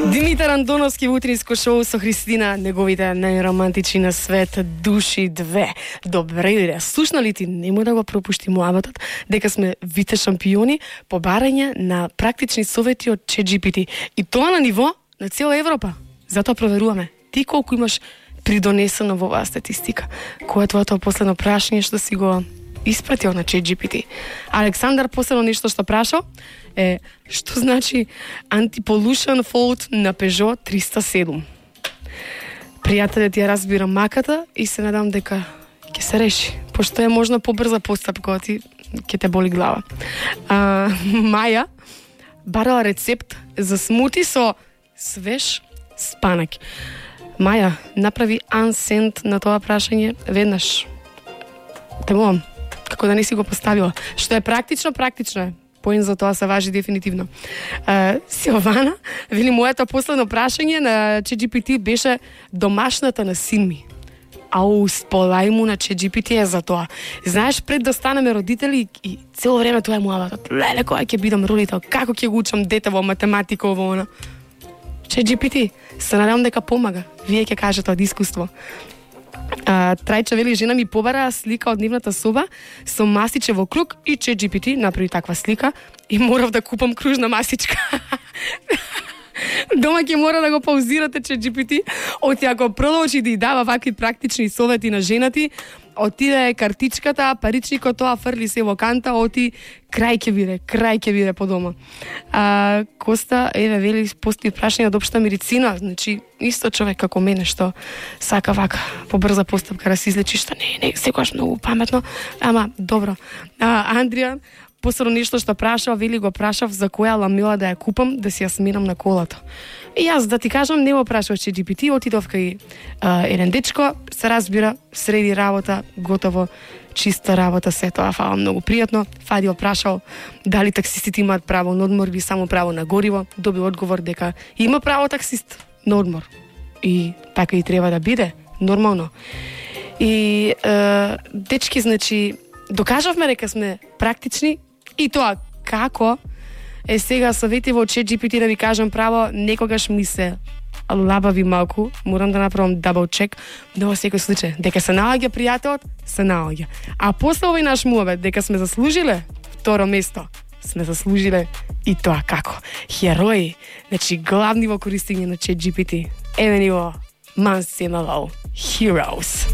Димитар Андоновски во утринско шоу со Христина, неговите најромантични на свет души две. Добре иде. Слушнали ти, нема да го пропушти муабатот дека сме вите шампиони по барање на практични совети од ChatGPT. И тоа на ниво на цела Европа. Затоа проверуваме ти колку имаш придонесено во оваа статистика. Кој е твоето последно прашање што си го испратил на ChatGPT? Александар последно нешто што прашал е што значи anti-pollution fault на Peugeot 307. Пријателят ја разбира маката и се надам дека ќе се реши, пошто е можно побрза постапка, ти ќе те боли глава. Маја барала рецепт за смути со свеж спанак. Маја, направи unsend на тоа прашање веднаш. Те молам, како да не си го поставила. Што е практично, практично е. Поен за тоа се важи дефинитивно. Силвана, вели, моето последно прашање на ChatGPT беше домашната на син ми. Ау, сполај му на ChatGPT е за тоа. Знаеш, пред да станеме родители и цело време тоа е муабатот. Леле, кога ќе бидам родител, како ќе го учам дете во математика, ово она. ChatGPT, се надам дека помага. Вие ќе кажете од искуство. Трајча вели, жена ми побара слика од нивната соба со масиче во круг и ChatGPT направи таква слика и морав да купам кружна масичка. Дома ќе мора да го паузирате ChatGPT, оти ако продолжи да ја дава вакви практични совети на женати, отиде картичката, паричникот тоа фрли се во канта, оти крај ќе биде по дома. Коста, еве, вели, постои прашање од општа медицина, значи, исто човек како мене, што сака вака, побрза постапка да се излечи, што не, секогаш многу паметно, ама, добро. Андријан, посебно нешто што прашав, вели, го прашав за која ламела да ја купам, да си ја сменам на колата. И јас, да ти кажам, не го прашав ChatGPT, отидов кај еден дечко, се разбира, среди работа, готово, чиста работа, се тоа, фала, многу пријатно. Фадил прашал дали таксистите имаат право на одмор или само право на гориво, доби одговор дека има право таксист на одмор. И така и треба да биде, нормално. И дечки, значи, докажавме дека сме практични и тоа како е сега совети во ChatGPT, да ви кажам право, некогаш ми се лабави малку, морам да направам double check, но во секој случај, дека се наоѓа пријателот, се наоѓа. А после овој наш муабет, дека сме заслужиле второ место, сме заслужиле и тоа како херои, значи главни во користење на ChatGPT. Еве ни во Months in a Row, Heroes.